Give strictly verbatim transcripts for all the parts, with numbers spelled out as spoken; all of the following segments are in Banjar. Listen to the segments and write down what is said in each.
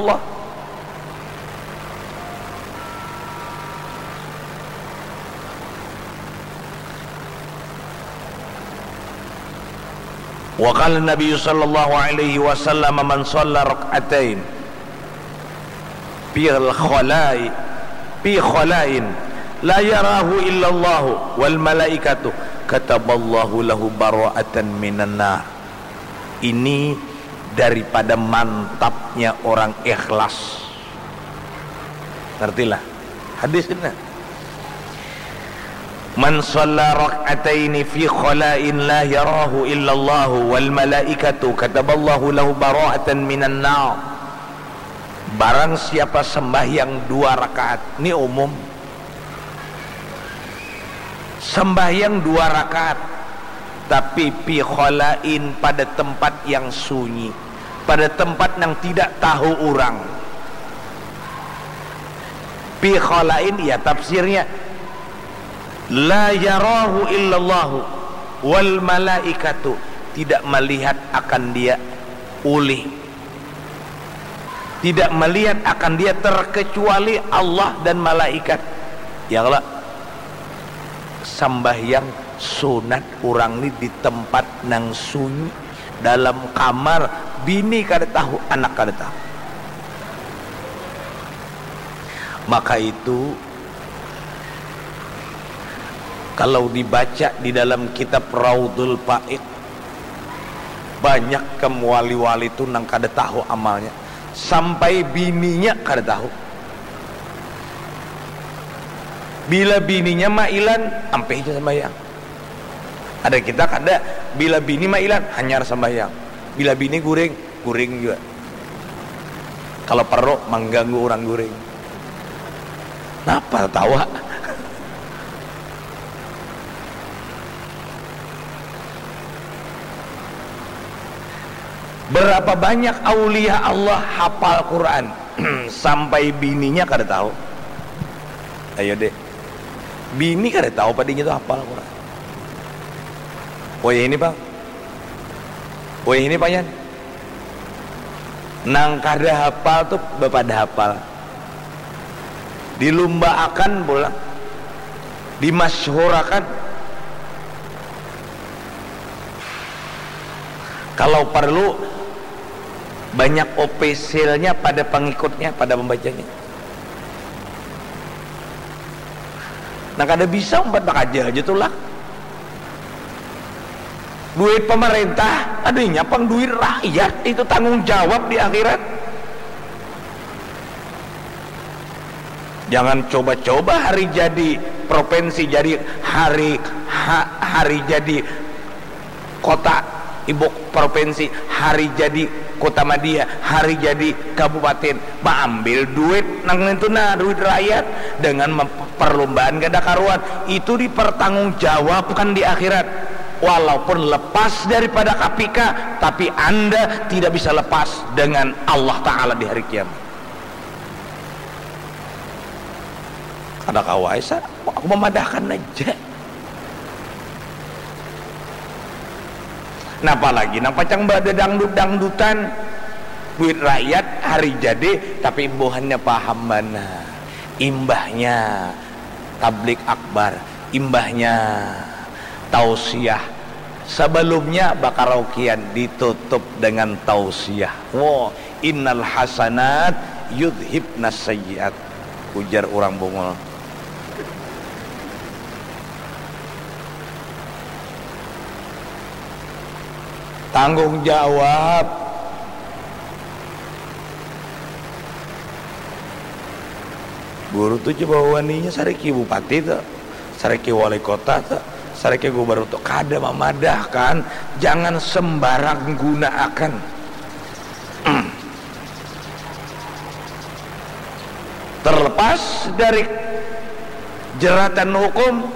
Allah. Wa qala Nabi sallallahu alaihi wasallam, "Man shalla rak'atain fi khalai, fi khalain la yarahu illallahu wal malaikatu, kataballahu lahu bara'atan minan nar." Ini daripada mantapnya orang ikhlas. Ngertilah hadis ini. "Man shalla rak'ataini fi khala'in la yarahu illallahu wal malaikatu kataballahu lahu bara'atan minan nar." Barang siapa sembahyang dua rakaat, ni umum. Sembahyang dua rakaat, tapi fi khala'in, pada tempat yang sunyi, pada tempat yang tidak tahu orang. Fi khala'in, ya tafsirnya, la yarahu illallahu wal malaikatu, tidak melihat akan dia ulih, tidak melihat akan dia terkecuali Allah dan malaikat. Ya kalo, sambahyang sunat urang ni di tempat nang sunyi, dalam kamar, bini kada tahu, anak kada tahu. Maka itu, kalau dibaca di dalam kitab Raudul Faid, banyak kam wali-wali tu nang kada tahu amalnya, sampai bininya kada tahu. Bila bininya mailan, ampih ja sambahyang. Ada kita kada, bila bini mailan, hanyar sambahyang. Bila bini guring, guring jua. Kalau perlu, mangganggu urang guring. Napa tatawa? Berapa banyak aulia Allah hafal Quran sampai bininya kada tahu? Ayo deh, bini kada tahu padinya tu hafal Quran. Wayah ini pang, wayah ini panyan. Nang kada hafal tu bapadah hafal. Dilumbaakan pulang, dimasyhurakan. Kalau parlu, banyak opisilnya pada pangikutnya, pada pambacanya. Nah, kada bisa umpat bakaja haja tu lah. Duit pamarintah, ada inya pang duit rakyat, itu tanggung jawab di akhirat. Jangan coba-coba hari jadi provinsi, jadi hari ha, hari jadi kota, ibu provinsi, hari jadi kota madya, hari jadi kabupaten, maambil duit nang nintu nah, duit rakyat, dengan mem- perlombaan kada karuan, itu dipertanggungjawabkan di akhirat. Walaupun lepas daripada K P K, tapi Anda tidak bisa lepas dengan Allah Ta'ala di hari kiamat. Kada kawa ai sa, aku mamadahkan aja. Nah, apalagi nang pacang badadangdut-dangdutan, duit rakyat hari jadi, tapi buhannya paham banar. Imbahnya tablik akbar, imbahnya tausiah. Sabalumnya bakaraokean, ditutup dengan tausiah. Wo, innal hasanat yudhibnas sayyiat, ujar urang Bungul. Tanggung jawab. Guru tu coba waninya sariki bupati tu, sariki wali kota tu, sariki gubernur tu, kada mamadahkan, jangan sembarang gunaakan. Terlepas dari jeratan hukum,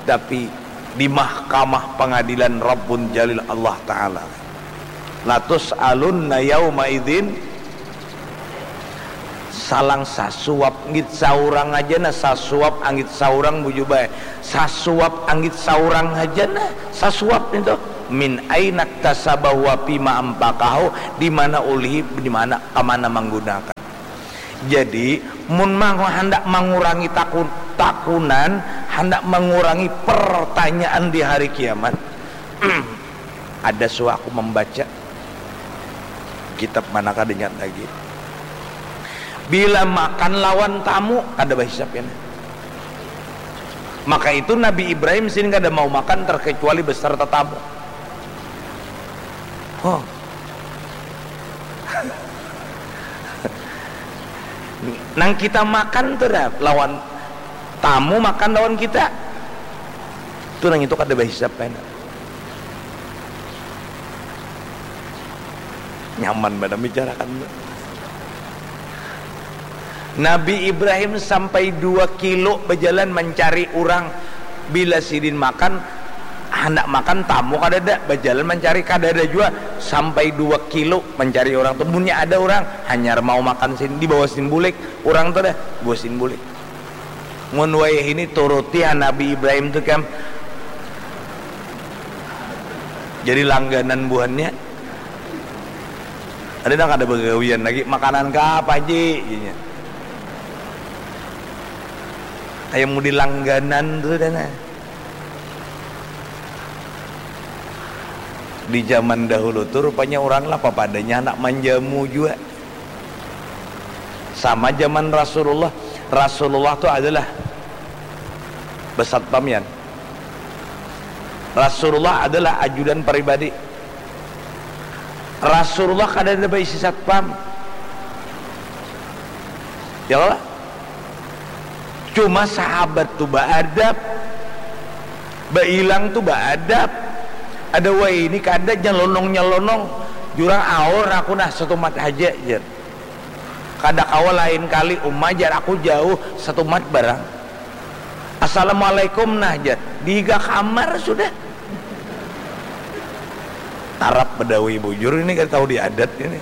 tapi di mahkamah pengadilan Rabbun Jalil Allah Ta'ala. Latus alunna yauma idzin, salang sasuap anggit saurang aja nah, sasuap anggit saurang buju bae, sasuap anggit saurang aja nah, sasuap itu. Min ainak tasabahu wa fima ampakahu, di mana ulihi, di mana, kamana manggunakan. Jadi, mun mang handak mangurangi takun, takunan, handak mangurangi pertanyaan di hari kiamat, ada suah aku membaca kitab mana kada ingat lagi. Bila makan lawan tamu, kada bahisap ini. Maka itu Nabi Ibrahim sini kada mau makan terkecuali beserta tamu. Oh. Nang kita makan tu dah lawan tamu makan lawan kita. Tu nang itu kada bahisap kena. Nyaman banar bicarakan tu. Nabi Ibrahim sampai dua kilo bajalan mancari urang. Bila sidin makan, handak makan tamu kadada, bajalan mancari kadada jua, sampai dua kilo mancari urang tu. Munnya ada urang hanyar mau makan sidin, dibawa sidin bulik urang tu dah, bawa sidin bulik. Mun wayah ini turuti ha Nabi Ibrahim tu kam. Jadi langganan buhannya. Ada nang kada bagawian lagi, makanan ka apa ji? Inya. Ayam mudi langganan tu dah nah. Di zaman dahulu tu rupanya orang lah papadanya anak manjamu jua. Sama zaman Rasulullah. Rasulullah tu adalah besatpam yan. Rasulullah adalah ajudan pribadi. Rasulullah kada ada baisi satpam. Ya Allah. Cuma sahabat tu baadab, bailang tu baadab. Ada wai ini kada nyelonong-nyelonong. Jurang aur aku nah satumat haja jar. Kada kawa lain kali uma jar aku jauh satumat barang. Assalamualaikum nah jar. Di higa kamar sudah. Arab Badawi bujur ini kada tahu di adat ini.